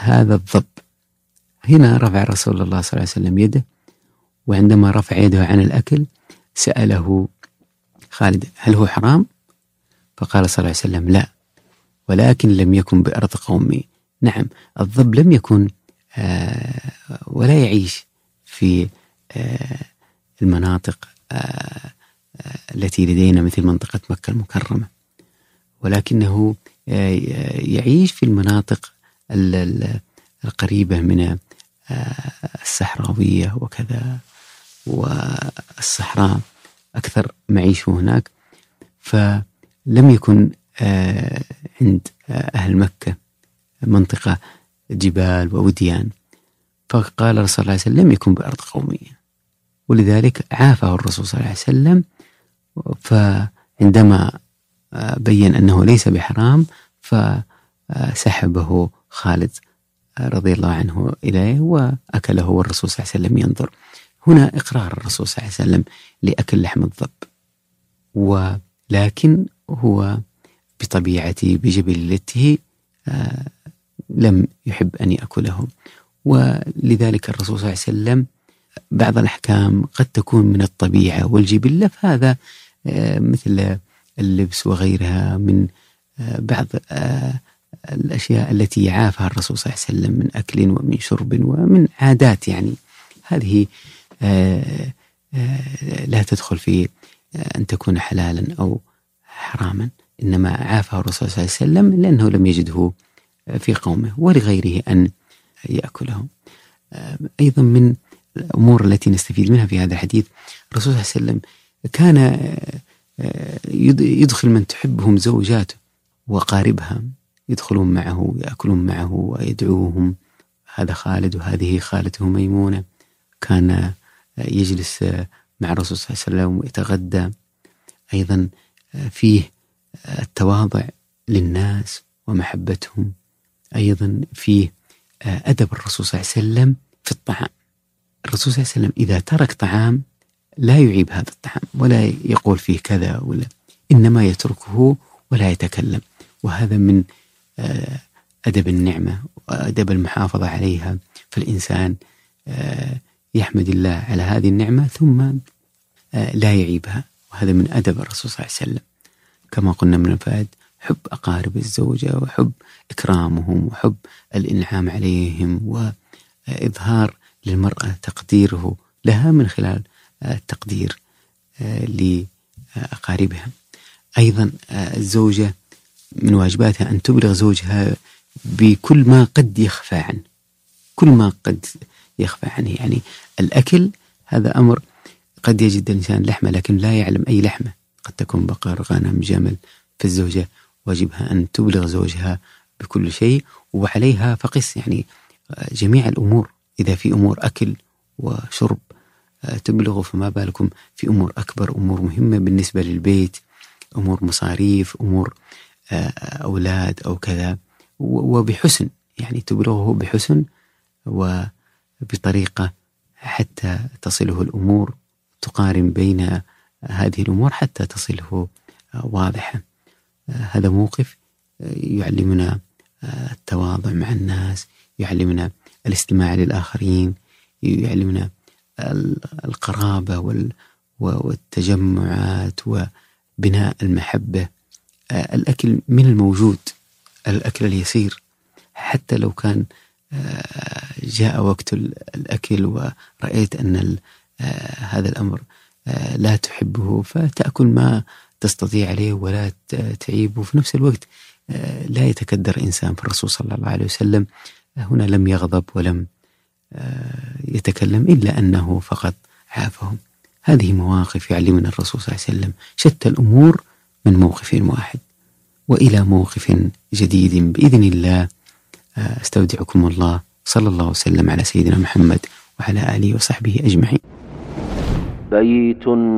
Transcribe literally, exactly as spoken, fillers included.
هذا الضب. هنا رفع رسول الله صلى الله عليه وسلم يده، وعندما رفع يده عن الأكل سأله خالد هل هو حرام؟ فقال صلى الله عليه وسلم لا، ولكن لم يكن بأرض قومي. نعم، الضب لم يكن آه ولا يعيش في آه المناطق آه التي لدينا مثل منطقة مكة المكرمة، ولكنه آه يعيش في المناطق القريبة من آه الصحراوية وكذا، والصحراء أكثر معيشه هناك. فلم يكن آه عند آه أهل مكة منطقة جبال ووديان، فقال الرسول صلى الله عليه وسلم لم يكن بأرض قومية، ولذلك عافه الرسول صلى الله عليه وسلم. فعندما آه بين أنه ليس بحرام فسحبه خالد رضي الله عنه إليه وأكله، والرسول صلى الله عليه وسلم ينظر. هنا إقرار الرسول صلى الله عليه وسلم لأكل لحم الضب، ولكن هو بطبيعته بجبلته آه لم يحب أن يأكله. ولذلك الرسول صلى الله عليه وسلم بعض الأحكام قد تكون من الطبيعة والجبلة، فهذا آه مثل اللبس وغيرها من آه بعض آه الأشياء التي عافها الرسول صلى الله عليه وسلم من أكل ومن شرب ومن عادات، يعني هذه آه آه لا تدخل في آه أن تكون حلالا أو حراما، إنما عافه الرسول صلى الله عليه وسلم لأنه لم يجده في قومه ولغيره أن يأكله. آه أيضا من الأمور التي نستفيد منها في هذا الحديث، الرسول صلى الله عليه وسلم كان آه يدخل من تحبهم زوجاته وقاربها، يدخلون معه يأكلون معه ويدعوهم. هذا خالد وهذه خالته ميمونة، كان يجلس مع الرسول صلى الله عليه وسلم ويتغدى. أيضا فيه التواضع للناس ومحبتهم، أيضا فيه أدب الرسول صلى الله عليه وسلم في الطعام. الرسول صلى الله عليه وسلم إذا ترك طعام لا يعيب هذا الطعام ولا يقول فيه كذا ولا، إنما يتركه ولا يتكلم، وهذا من أدب النعمة وأدب المحافظة عليها. فالإنسان يحمد الله على هذه النعمة ثم لا يعيبها، وهذا من أدب الرسول صلى الله عليه وسلم. كما قلنا من الفائد حب أقارب الزوجة وحب إكرامهم وحب الإنعام عليهم، وإظهار للمرأة تقديره لها من خلال التقدير لأقاربها. أيضا الزوجة من واجباتها أن تبلغ زوجها بكل ما قد يخفى عنه، كل ما قد يخفى عنه. يعني الأكل هذا أمر قد يجد الإنسان لحمة لكن لا يعلم أي لحمة، قد تكون بقر غنم جمل، فالزوجة واجبها أن تبلغ زوجها بكل شيء، وعليها فقس يعني جميع الأمور. إذا في أمور أكل وشرب تبلغ، فما بالكم في أمور أكبر، أمور مهمة بالنسبة للبيت، أمور مصاريف، أمور أولاد أو كذا، وبحسن، يعني تبلغه بحسن وبطريقة حتى تصله الأمور، تقارن بين هذه الأمور حتى تصله واضحة. هذا موقف يعلمنا التواضع مع الناس، يعلمنا الاستماع للآخرين، يعلمنا القرابة والتجمعات وبناء المحبة. الأكل من الموجود، الأكل اليسير، حتى لو كان جاء وقت الأكل ورأيت أن هذا الأمر لا تحبه فتأكل ما تستطيع عليه ولا تعيبه. في نفس الوقت لا يتكدر إنسان. فالرسول صلى الله عليه وسلم هنا لم يغضب ولم يتكلم إلا أنه فقط عافهم. هذه مواقف يعلمنا الرسول صلى الله عليه وسلم شتى الأمور من موقف واحد. وإلى موقف جديد بإذن الله، استودعكم الله، صلى الله وسلم على سيدنا محمد وعلى آله وصحبه أجمعين. بيت النبوة.